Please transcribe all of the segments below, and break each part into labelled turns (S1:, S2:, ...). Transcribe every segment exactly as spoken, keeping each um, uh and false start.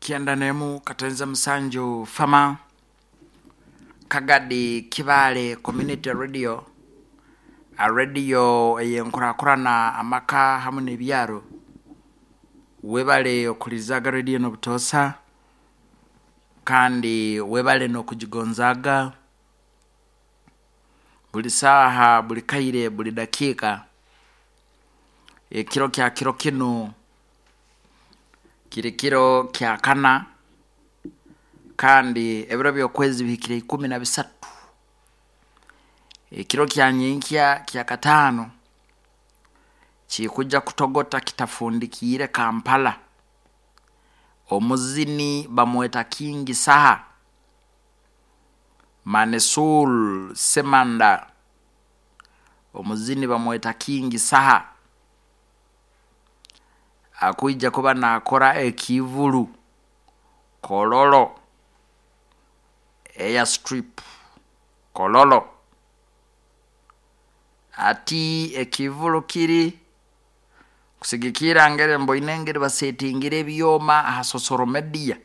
S1: Kyenda n'emu katenza musanju fama Kagadi Kibaale Community Radio, a radio ey'enkurakurana amaka hamu n'ebyaro. Webale okulizaga radio n'obutoosa, kandi webale n'okugigonzaaga buli saaha, buli kaire, buli dakiika. Ekiro kya kiro kinu kiri kiro kya kana, kandi ebiro by'okwezi bihikire ikumi na bisatu. Ekiro kya nyenkya kya kataano kikujja kutogota kitafundikiire Kampala. Omuzini bamweta King Saha Manesul Semanda, omuzini bamweta King Saha akwija kuba naakora ekivulu Kololo Airstrip Kololo. Ati ekivulu kiri kusigikirra ngeri mboine engeri basetingire ebyoma ha social media,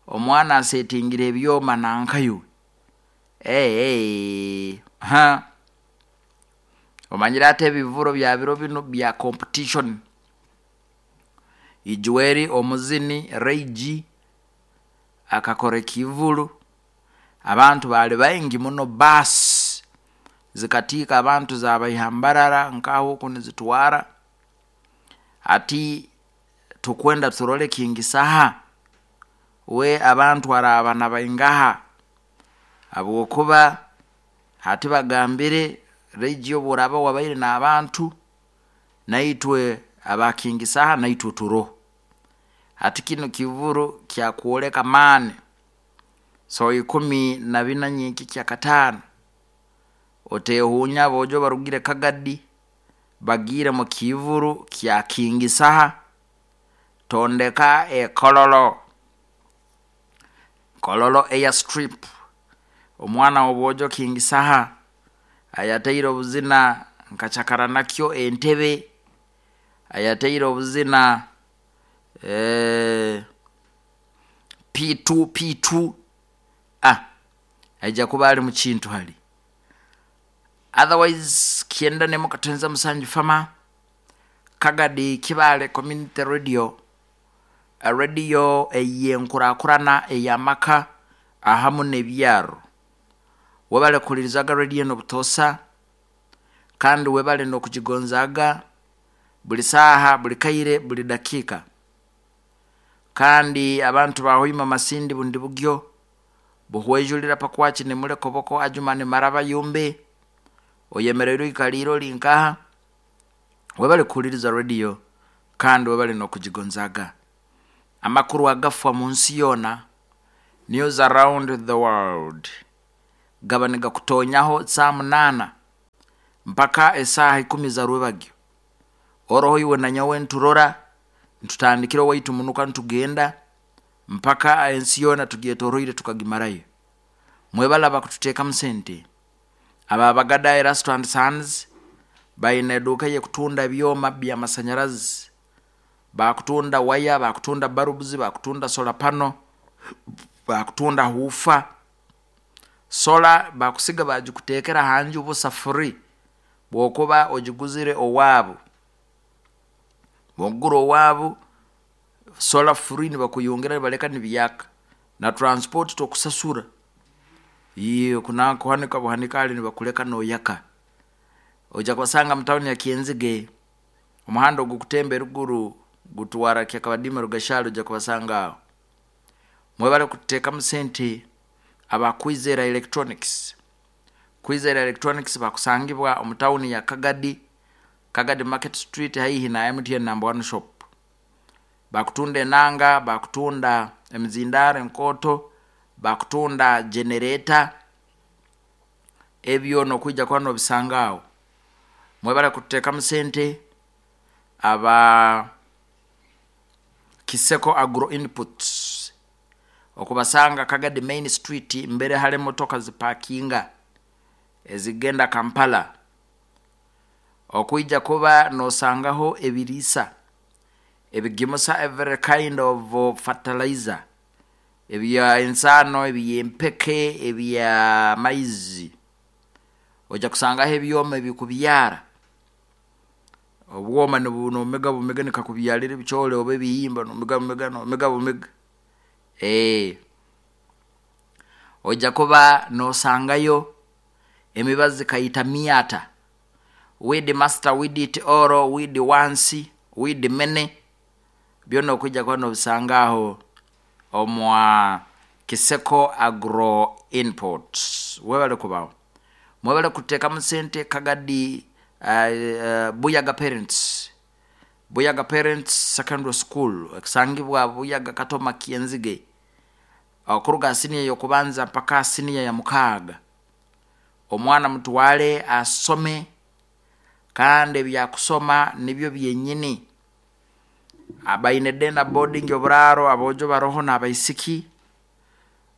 S1: omwana asetingire ebyoma nankaiwe eeh ha omanyire ati ebivulu bya biro binu bya competition. Ijweri omuzini Ray G akakora ekivulu, abantu baali baingi muno, baasi zikatiika abantu zabaiha Mbarara nkaho oku nizitwara. Hati tukwenda turole King Saha we abantu araaba nabaingaha, habwokuba hati bagambire Ray G obu oraaba wabaire n'abantu, naitwe aba King Saha naitwe turoho. Hati kinu kivulu kyakwoleka maani. So ikumi na bina nyenkya kyakataano, oteehuunya aboojo barugire Kagadi bagiire mu kivulu kya King Saha tondeka e Kololo, Kololo Airstrip. Omwana w'obwojo King Saha ayataire obuzina nka cakara nakyo Entebe, ayataire obuzina P two P two, ah aija kuba ali mukintu hali. Otherwise kyenda n'emu katenza musanju fama Kagadi Kibaale Community Radio, radio ey'enkurakurana ey'amaka ahamu n'ebyaro. Webale kuhulirizaga radio enu obutoosa, kandi webale n'okugigonzaaga buli saaha, buli kaire, buli dakiika. Kandi abantu ba Hoima, Masindi, Bundibugyo, Buhwejulira, Pakwaki, Nimule, Koboko, Adjumani, Maraba, Yumbe, oyemeriire oikaliire ori nkaha, webale kuhuliriza radio kandi webale n'okugigonzaaga. Amakuru agafa mu nsi yoona, news around the world, gaba nigakutonyaho saa munaana mpaka esaaha ikumi za rwebagyo. Oroho iwe na nyowe nturora ntutandikire owaitu munuka ntugenda mpaka ensi yoona tugyetoroire tukagimarayo. Mwebale abakututeekamu sente, aba Bagada Erasto and Sons baine eduuka ey'ekutunda ebyoma by'amasanyarazi, bakutunda waya, bakutunda bulbs, bakutunda solar panel, bakutunda woofer. Solar bakusiga bagikuteekera ha nju busa free bwokuba ogiguzire owaabu. Bwokugura owaabu solar free, nibakuyungira nibaleka nibyaka, na transport tokusasura, iyo kuhanika buhanika hali nibakuleka noyaka. Oija kubasanga mu tawuni ya Kyenzige, omuhanda ogukutemba eruguru gutwara Kyakabadiima Rugashari, oija kubasanga aho. Mwebale kututeekamu sente aba Kwizera Electronics. Kwizera Electronics bakusangibwa omu tawuni ya Kagadi, Kagadi Market Street, haihi na M T N number one shop. Bakutunda enanga, bakutunda emizindaaro enkooto, bakutunda generator, ebyo nokwija kuba nobisanga aho. Mwebale kututeekamu sente aba Kiseko Agro Inputs, okubasanga Kagadi Main Street, mbere hali emotoka zipakinga ezigenda Kampala. Okwija kuba nosangaho ebiriisa. Ebigimusa every kind of fertilizer, ebya ensaano, ebyempeke, ebya maizi. Ojja kusangaho ebyoma ebikubyara, obwoma nomega bumega nikakubyarira ebicoori oba ebihimba, nomega bumega nomega bumega, ojja kuba nosangayo emibazi kaita myata, weed master, weed it all, weed once, weed many, byona nokwiija kuba nobisanga aho omwa Kiseko Agro Input. Webale kubaho, mwebale kuteekamu sente. Kagadi uh, uh, Buyaga Parents, Buyaga Parents Secondary School ekusangibwa Buyaga Katoma Kyenzige, okuruga siniya y'okubanza mpaka siniya ya mukaaga. Omwana mutwale asome, kandi ebyakusoma nibyo byenyini. Baine day na boarding, oburaaro, aboojo baroho n'abaisiki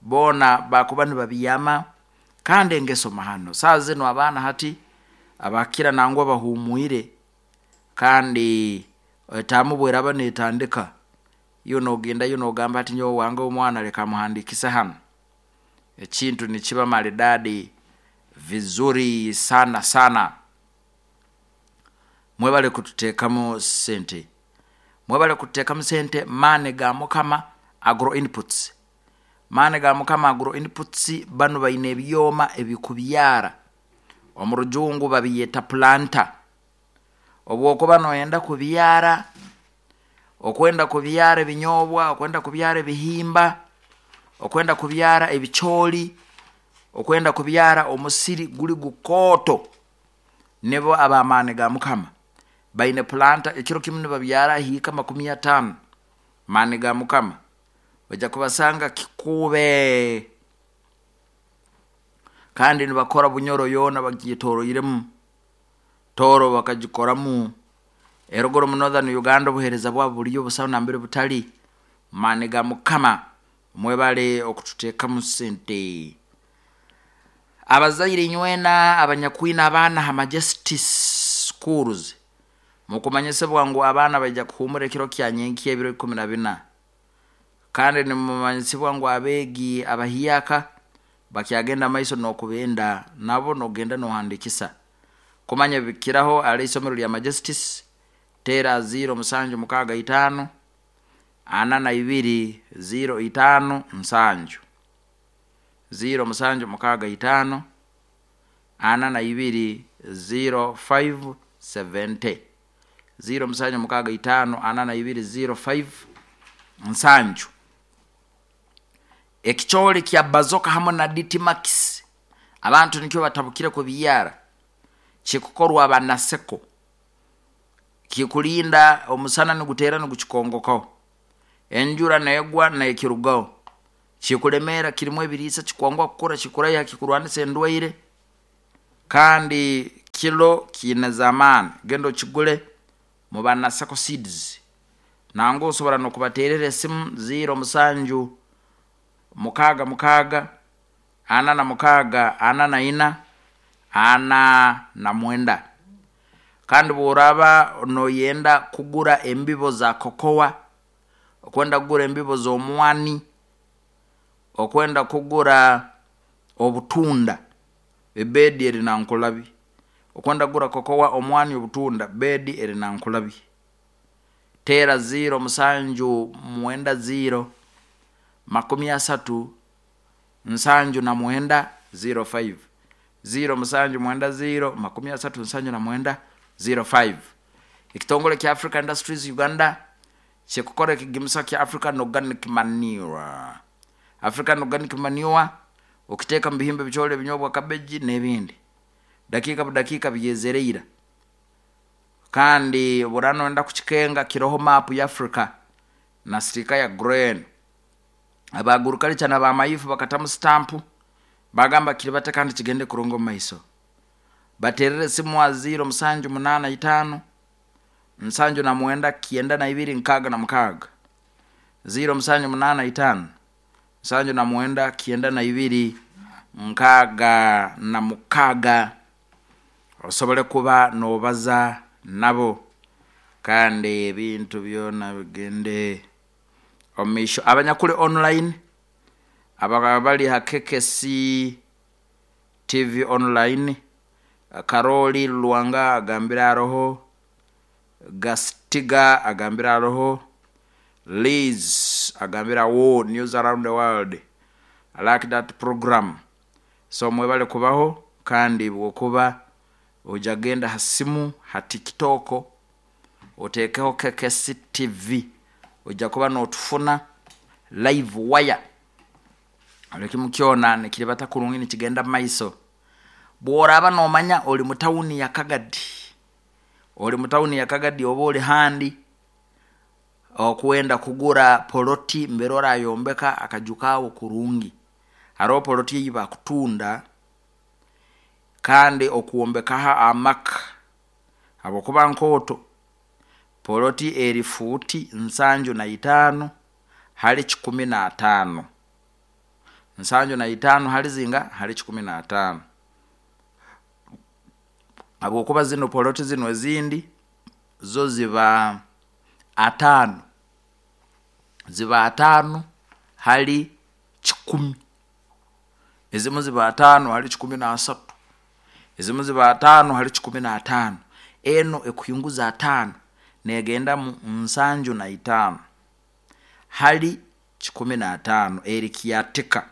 S1: boona bakuba nibabyama, kandi engeso mahano. Saaha zinu abaana hati abakira nangwa bahuumwire, kandi etaamu bweraba netandika, iwe nogendayo nogamba ati nyowe wange omwana leka muhandikise hanu, ekintu nikiba maridadi vizuri sana sana. Mwebale kututeekamu sente, mwebale kututeekamu sente. Maani ga Mukama Agro Inputs, Maani ga Mukama Agro Inputs banu baine ebyoma ebikubyara, omu rujungu babiyeta planter. Obu okuba noyenda kubyara, okwenda kubyara ebinyoobwa, okwenda kubyara ebihimba, okwenda kubyara ebicooli, okwenda kubyara omusiri guli gukooto, nibo ab'amaani ga Mukama baine planter, ekiro kimu nibabyara hiika makumi ataano. Maani ga Mukama ojja kubasanga Kikuube, kandi nibakora Bunyoro yoona bagyetoroiremu, Tooro bakagikoramu, eruguru mu Northern Uganda obuheereza bwabo buriyo, busaho nambere butali. Maani ga Mukama, mwebale okututeekamu sente. Abazaire inywena abanyakwine abaana ha Majestic Schools, mukumanyisibwa ngu abaana baija kuhuumura ekiro kya nyenkya ebiro ikumi na bina, kandi nimumanyisibwa ngu abeegi abahyaka bakyagenda maiso nokubenda nabo nogenda nohandikisa. Kumanya bikiraho ali isomero lya Majestic, teera ziro musanju mukaaga itaano ana na ibiri ziro itaano nsanju, ziro musanju mukaaga itaano ana na ibiri ziro five seventy, ziro musanju mukaaga itaano ana na ibiri ziro five nsanju. Ekicoori kya Bazoka hamu na D T Max, abantu nikyo batabukire kubyara, kikukorwa abanaseko, kikulinda omusana niguteera nigukikongokaho, enjura negwa nekirugaho, kikulemeera, kirimu ebiriisa, kikwanguha kukura, kikuraiha, kikurwanisa endwaire, kandi kilo kiine z'amaani. Genda okigule mu Banaseko Seeds, nangwa osobora nokubateerera esimu ziro musanju mukaaga mukaaga ana na mukaaga ana na ina ana na mwenda. Kandi bworaba noyenda kugura embibo za kokowa, okwenda kugura embibo z'omwani, okwenda kugura obutunda, ebedi eri Nankulabi. Okwenda kugura kokowa, omwani, obutunda, bedi eri Nankulabi. Teera ziro musanju mwenda ziro makumi asatu nsanju na mwenda ziro five, ziro musanju mwenda ziro makumi asatu nsanju na mwenda ziro five. Ekitongole kya Africa Industries Uganda kikukora ekigimusa kya African Organic Manure. African Organic Manure okiteeka mu bihimba, ebicooli, ebinyobwa, kabeji n'ebindi, dakiika budakiika byezereira. Kandi bura noyenda kukikenga, kiroho maapu ya Africa na sticker ya green. Aba agriculture na bamayifu bakatamu stampu, bagamba kiribate kandi kigende kurungi omu maiso. Baterere esimu a ziro musanju munaana itaano nsanju na mwenda kyenda na ibiri nkaaga na mukaaga, ziro musanju munaana itaano nsanju na mwenda kyenda na ibiri nkaaga na mukaaga, osobole kuba nobaza nabo. Kandi ebintu byona bigende omumaisho. Abanyakuli online abakaba bali ha K K C T V online, Karoli Lwanga agambire aroho, Gastiga agambire aroho, Liz agambire awo, news around the world, I like that program. So mwebale kubaho, kandi bwokuba ojja genda ha simu ha TikTok otekeho K K C T V, ojja kuba notufuna live wire. Olekimu kyona nikiribata kurungi nikigenda maiso. Bworaba nomanya oli mu tawuni ya Kagadi, oli mu tawuni ya Kagadi oba oli handi okwenda kugura poloti mbere orayombeka akajukawo kurungi. Hariho poloti eyi bakutunda kandi okwombekaho amaka habwokuba nkoto poloti eri futi nsanju na itaano hali kikumi na ataano. Nsanju na itaano hali zinga hali kikumi na ataano. Habwokuba zino poloti zino ezindi zo ziba ataano, ziba ataano hali kikumi, ezimu ziba ataano hali kikumi na asatu, ezimu ziba ataano hali kikumi na ataano. Eno ekuhinguza ataano negenda mu nsanju na itaano hali kikumi na ataano, eri kiatika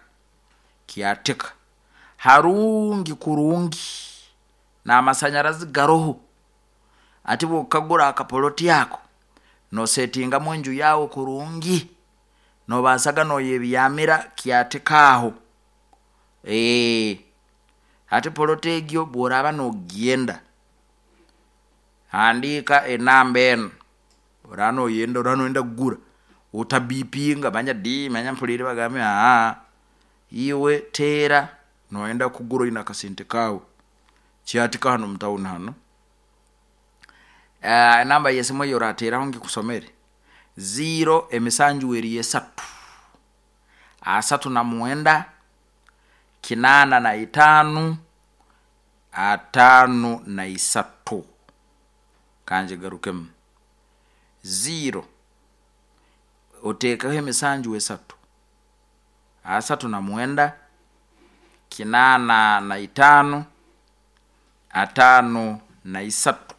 S1: kiatika harungi kurungi n'amasanyarazi garoho. Ati bwokagura akapoloti yako nosetingamu enju yawe kurungi, nobasaga noyebyamira kiatikaho. Eh, ati poloti egyo bworaba nogenda handika enamba eno, oraba noyenda, oraba noyenda kugura otabipinga manya di manya mpulire bagambe aa iwe tera noyenda kugura oine akasente kawe kiatika hano mutawuni hano. Uh, enamba yesimu eyo orateraho ngikusomere zero emisanju eri esatu asatu na mwenda kinana na itaano ataano na isatu. Kanje garukemu zero otekaho emisanju esatu asatu na mwenda kinana na itaano ataano na isatu,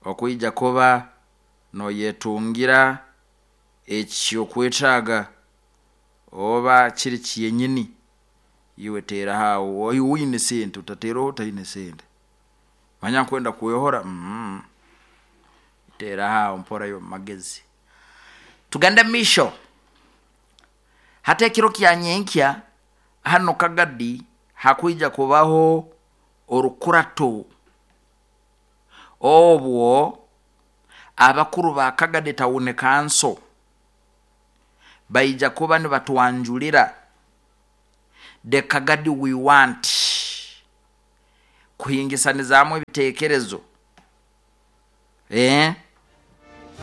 S1: okwija kuba noyetungira ekyokwetaaga oba kiri kyenyini. Iwe tera hawo oine sente, otateraho otaine sente manya nkwenda kwehora mm. Tera hawo mpora yo magezi. Tugende misho hata ekiro kya nyenkya hano Kagadi hakwija kubaho orukurato obwo abakuru ba Kagadi Town Council baija kuba nibatwanjulira the Kagadi we want, kuhingisanizamu ebitekerezo eh